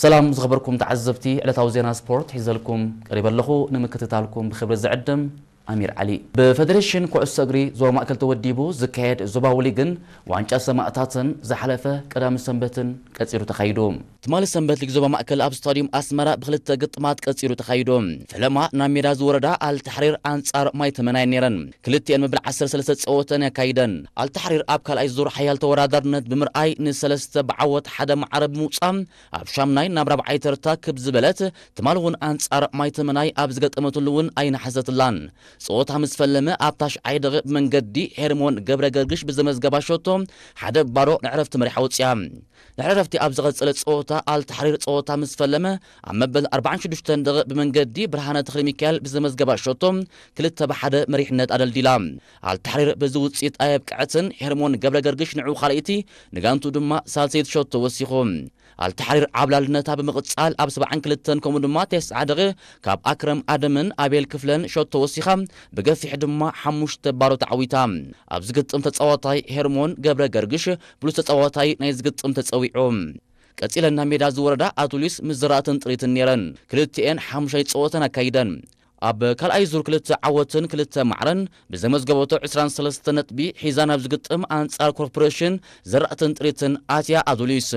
ሰላም ዝኸበርኩም ተዓዘብቲ፣ ዕለታዊ ዜና ስፖርት ሒዘልኩም ቀሪበ ኣለኹ። ንምክትታልኩም ብኽብሪ ዝዕድም ኣሚር ዓሊ። ብፌደሬሽን ኩዕሶ እግሪ ዞባ ማእከል ተወዲቡ ዝካየድ ዞባዊ ሊግን ዋንጫ ሰማእታትን ዝሓለፈ ቀዳሚ ሰንበትን ቀጺሉ ተኻይዱ። ትማሊ ሰንበት ሊግ ዞባ ማእከል ኣብ ስታዲየም ኣስመራ ብኽልተ ግጥማት ቀጺሉ ተኻይዱ። ፈለማ ናብ ሜዳ ዝወረዳ ኣልታሕሪር ኣንጻር ማይ ተመናየን ነይረን። ክልቲኤን መበል ዓሰርተ ሰለስተ ጸወተን ኣካይደን። ኣልታሕሪር ኣብ ካልኣይ ዙር ሓያል ተወዳዳርነት ብምርኣይ ንሰለስተ ብዓወት ሓደ ማዕረ ብምውጻእ ኣብ ሻምናይ ናብ ራብዓይ ተርታ ክብ ዝበለት፣ ትማሊ እውን ኣንጻር ማይ ተመናይ ኣብ ዝገጠመትሉ እውን ኣይነሓሰትላን። ጸወታ ምስ ፈለመ ኣብ ታሽዓይ ደቂቕ ብመንገዲ ሄርሞን ገብረ ገርግሽ ብዘመዝገባ ሸቶ ሓደ ባዶ ንዕረፍቲ መሪሓ ወጽያ። ድሕሪ ዕረፍቲ ኣብ ዝቐጸለ ጸወታ ኣልታሕሪር ጸወታ ምስ ፈለመ ኣብ መበል ኣርባዓን ሽዱሽተን ደቂቕ ብመንገዲ ብርሃነ ተኽለሚካኤል ብዘመዝገባ ሸቶ ክልተ ብሓደ መሪሕነት ኣደልዲላ። ኣልታሕሪር በዚ ውጽኢት ኣየብቅዐትን። ሄርሞን ገብረ ገርግሽ ንዑ ካልኣይቲ፣ ንጋንቱ ድማ ሳልሰይቲ ሸቶ ወሲኹ። ኣልታሕሪር ዓብላልነታ ብምቕጻል ኣብ ሰብዓን ክልተን ከምኡ ድማ ተስዓ ደቂቕ ካብ ኣክረም ኣደምን ኣቤል ክፍለን ሸቶ ወሲኻ ብገፊሕ ድማ ሓሙሽተ ባዶ ተዓዊታ። ኣብዚ ግጥም ተጻዋታይ ሄርሞን ገብረ ገርግሽ ብሉጽ ተጻዋታይ ናይ ዝግጥም ተጸዊዑ። ቀጺለን ናብ ሜዳ ዝወረዳ ኣቱሊስ ምስ ዘራእትን ጥሪትን ነይረን። ክልቲኤን ሓሙሻይ ጸወተን ኣካይደን። ኣብ ካልኣይ ዙር ክልተ ዓወትን ክልተ ማዕረን ብዘመዝገበቶ ዕስራን ሰለስተን ነጥቢ ሒዛ ናብ ዝግጥም ኣንጻር ኮርፖሬሽን ዘራእትን ጥሪትን ኣትያ ኣቱሊስ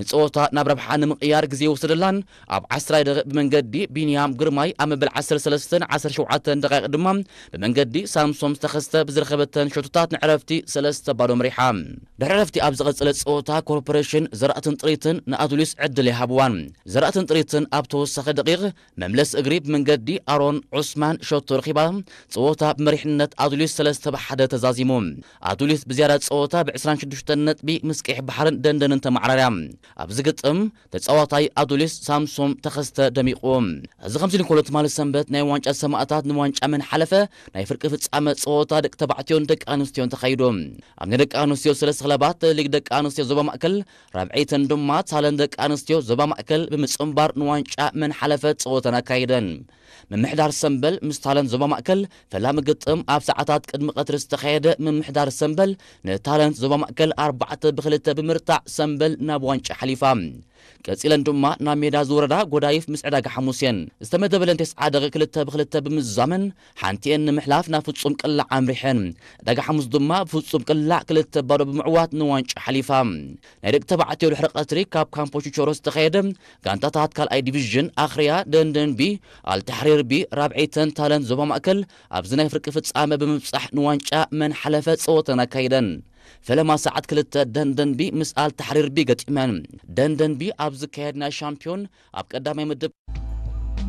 ንጸወታ ናብ ረብሓ ንምቕያር ግዜ ይወሰደላን። ኣብ ዓስራይ ደቂቕ ብመንገዲ ቢንያም ግርማይ ኣብ መበል ዓሰርተ ሰለስተን ዓሰርተ ሸውዓተን ደቃይቕ ድማ ብመንገዲ ሳምሶም ተኸስተ ብዝረኸበተን ሸቶታት ንዕረፍቲ ሰለስተ ባዶ መሪሓ። ድሕሪ ዕረፍቲ ኣብ ዝቐጸለ ጸወታ ኮርፖሬሽን ዘራእትን ጥሪትን ንኣቱሊስ ዕድል ይሃብዋን። ዘራእትን ጥሪትን ኣብ ተወሳኺ ደቂቕ መምለስ እግሪ ብመንገዲ ኣሮን ዑስማን ሸቶ ረኺባ ጸወታ ብመሪሕነት ኣቱሊስ ሰለስተ ብሓደ ተዛዚሙ። ኣቱሊስ ብዝያዳ ጸወታ ብ ዕስራን ሽዱሽተን ነጥቢ ምስ ቀይሕ ባሕርን ደንደንን ተመዓራርያ። ኣብዚ ግጥም ተጻዋታይ ኣቱሊስ ሳምሶም ተኸስተ ደሚቑ። እዚ ከምዚ ኢሉ እንከሎ ትማሊ ሰንበት ናይ ዋንጫ ሰማእታት ንዋንጫ መን ሓለፈ ናይ ፍርቂ ፍጻመ ጸወታ ደቂ ተባዕትዮን ደቂ ኣንስትዮን ተኻይዱ። ኣብ ናይ ደቂ ኣንስትዮ ሰለስተ ክለባት ሊግ ደቂ ኣንስትዮ ዞባ ማእከል ራብዐይተን ድማ ታለን ደቂ ኣንስትዮ ዞባ ማእከል ብምጽንባር ንዋንጫ መን ሓለፈ ጸወተን ኣካይደን። ምምሕዳር ሰምበል ምስ ታለን ዞባ ማእከል ፈላሚ ግጥም ኣብ ሰዓታት ቅድሚ ቀትሪ ዝተኻየደ ምምሕዳር ሰምበል ንታለን ዞባ ማእከል ኣርባዕተ ብክልተ ብምርታዕ ሰምበል ናብ ዋንጫ ሓሊፋ። ቀጺለን ድማ ናብ ሜዳ ዝወረዳ ጎዳይፍ ምስ ዕዳጋ ሓሙስ እየን። ዝተመደበለን ተስዓ ደቂ ክልተ ብክልተ ብምዛመን ሓንቲኤን ንምሕላፍ ናብ ፍጹም ቅላዕ ኣምሪሐን። ዕዳጋ ሓሙስ ድማ ብፍጹም ቅላዕ ክልተ ባዶ ብምዕዋት ንዋንጫ ሓሊፋ። ናይ ደቂ ተባዕትዮ ድሕሪ ቀትሪ ካብ ካምፖ ቹቸሮ ዝተኻየደ ጋንታታት ካልኣይ ዲቪዥን ኣኽርያ ደንደን ቢ፣ ኣልታሕሪር ቢ፣ ራብዐይተን ታለን ዞባ ማእከል ኣብዚ ናይ ፍርቂ ፍጻመ ብምብጻሕ ንዋንጫ መን ሓለፈ ጸወተን ኣካይደን። ፈለማ ሰዓት ክልተ ደንደን ቢ ምስ ኣልታሕሪር ቢ ገጢመን። ደንደን ቢ ኣብ ዝካየድ ናይ ሻምፒዮን ኣብ ቀዳማይ ምድብ